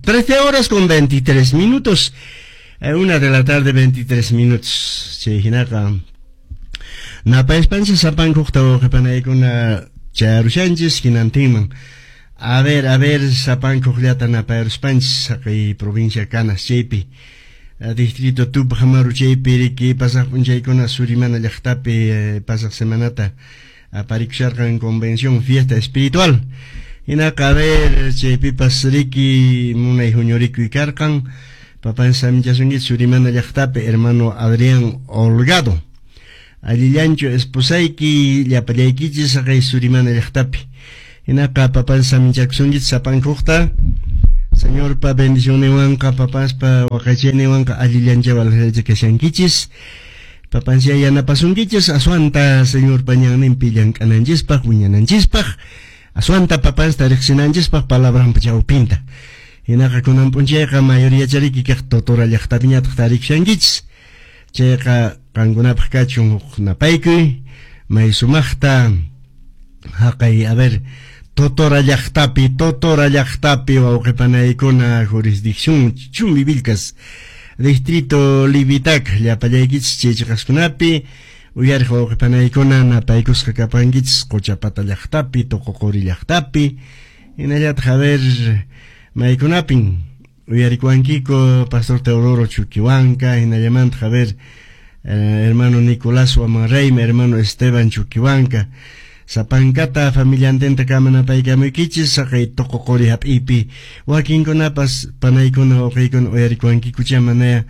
13 horas con 23 minutos. 1 de la tarde, 23 minutos. Chay hinaqa napayaspanchis sapankuqta wawqipanaykuna chayarushanchis hinantinman. A ver, sapankuqllata napayaruspanchis haqay provincia Canas chaypi. Distrito Tupac Amaru chaypi riki pasaq p'unchaykuna Surimana llaqtapi pasaq semanata aparikusharqan convención fiesta espiritual. Hinaqa a ver chaypipas riki munay huñurikuy karqan. Papan saminchasunkichis Surimana llaqtapi hermano Adrián Holgado. Allillanchu esposayki llapallaykichis haqay Surimana llaqtapi. Hinaqa papan saminchakusunkichis sapankuqta. Señorpa bendicionninwanqa papaspa waqaychayninwanqa allillanchawan kashankichis. Papansya yanapasunkichis aswanta Señorpa ñanninpi llank'ananchispaq wiñananchispaq aswanta papansta riqsinanchispaq palabranpa chawpinta. Hinaqa kunan p'unchayqa mayoría chariki kaq Totora llaqtapiñataq tarikushankichis. Chayqa qankunapaq kachun huk napaykuy may sumaqta haqay a ver Totora llaqtapi wawqipanaykuna jurisdicción Chumbivilcas distrito Livitac llapallaykichis chay chiqaskunapi uyariq wawqipanaykuna napaykusqa kapankichis Qochapata llaqtapi Toqoqori llaqtapi hinallataq a ver maykunapin uyarikuwankiku Pastor Teodoro Chuquihuanca hinallamantaq a ver hermano Nicolás Huamanreyma hermano Esteban Chuquihuanca sapankata familiantenta kama napaykamuykichis haqay Toqoqori hap'ipi wakinkunapas panaykuna wawqiykuna uyarikuwankikucha manaya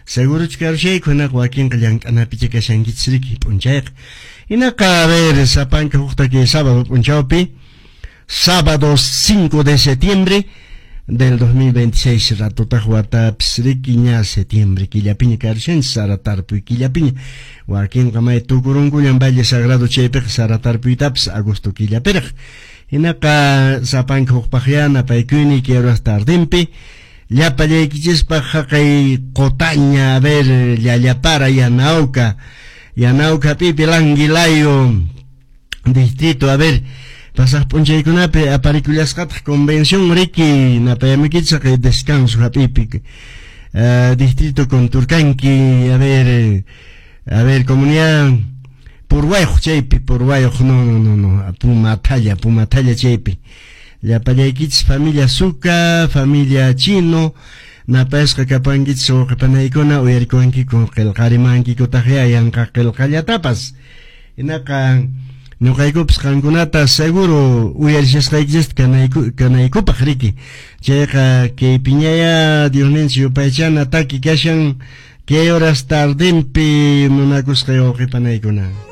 seguruchu karushayku hinaqa wakinqa llank'anapicha kashankichis riki p'unchayqa. Hinaqa a ver sapanka hukta kay sábado p'unchawpi sábado 5 de septiembre del 2026 ratutaq watapis riki ña septiembre killapiña karushanchis sara tarpuy killapiña wakinqa may tukurunkullan Valle Sagrado chaypiqa sara tarpuytapis agosto killapiraq. Hinaqa sapanka hukpaqya napaykuyni kay horas tardinpi llapallaykichispaq haqay Qotaña a ver Llallapara Yanauca Yanauca pipi Languilayo distrito a ver pasaq p'unchaykunapi aparikullasqataq convención riki napayamuykichis haqay descanso hap'ipi distrito Conturcanqui a ver comunidad Purwayuq chaypi Purwayuq no Pumathalla chaypi llapallaykichis familia Suca familia Chino napayasqa kapankichis wawqipanaykuna uyarikuwankiku qillqarimankikutaqya yanqa qillqallatapas. Hinaqa ñuqaykupas qankunata seguro uyarishasqaykichista kanaykupaq riki. Chayqa kay piñaya Diosninchis yupaychana taki kashan kay horas tardinpi munakusqay wawqipanaykuna.